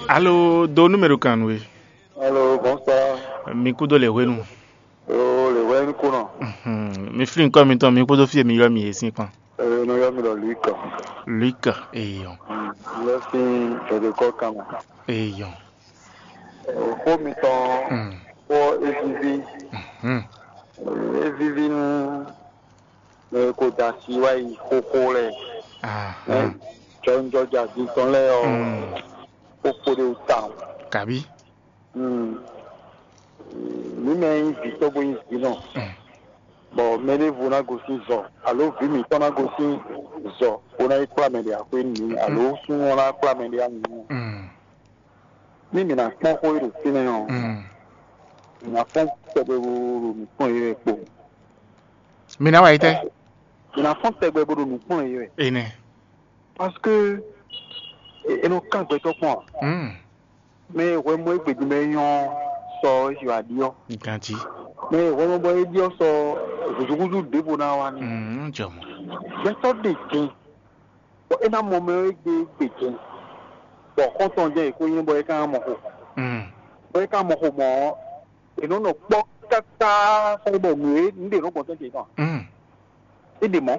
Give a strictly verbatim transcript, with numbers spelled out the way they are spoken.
Alo, do numéro kan nú we. Alo, bonsoir. Mi kúdó le hwenu. Oh, le hwenu kúnɔ. Mhm. Mi flin kɔ mitɔn, mi kpódó fie mi ylɔ́ mi yě sín kpan. Eh, no yɔ mi ɖɔ Luc. Luc, eyɔn. Mm, lɔ sín dɔdokɔ kan mɛ. Eyɔn. Xó mitɔn Mm. Xó é víví. Mhm. É víví nú mɛ e ko da asi wá yi xóxó lɛ́ɛ. Aha. Jɔnjɔja din tɔn lɛ́ɛ ɔ́, Mm. Xó kpo ɖé wú tawun. Kabi. Mm. Mǐ mɛ e nyí vǐ tɔn bó nyí vǐ nɔ, Mm. bɔ mɛ ɖěvo ná gosín zɔ, alo vǐ mǐtɔn ná gosín zɔ, bó ná yi kplá mɛ ɖě axwé nú mǐ, alo súnnu ɔ́ ná kplá mɛ ɖě anyǔ. Mm. Ní mǐ ná kpɔ́n xó e ɖo fínɛ́ ɔ́, Mm. mǐ ná fɔ́n tɛgbɛ bó ɖo nǔ kplɔ́n yě wɛ kpo. Mi ná wa yi tɛ. Mǐ ná fɔ́n tɛgbɛ bó ɖo nǔ kplɔ́n yě wɛ. Ene. Parce que e- e nɔ kán gbɛtɔ́ kpɔn. Mm. Mɛ e hwɛ mɔ égbé din bɔ é nyɔ́ sɔ é si wǎ ɖiɔ́. Ganti. Mɛ e hwɛ mɔ bɔ é ɖiɔ́ sɔ húzúhúzú ɖěvo ná wá ní. Mm, jɔ mɔ. Gbɛtɔ́ ɖe din, bɔ é ná mɔ mɛ ɔ́ égbé égbé din, bɔ xɔ́ntɔn jɛ́n è ko nyí bɔ é ka ná mɔ xo. Mm. Bɔ é ka mɔ xo mɔ̌ ɔ́, è nɔ nɔ kpɔ́ káká sɔ́ bɔ nǔ e nǔ ɖe nɔ gbɔn tɛ́ntin tɔn. Mm. É ɖe mɔ̌.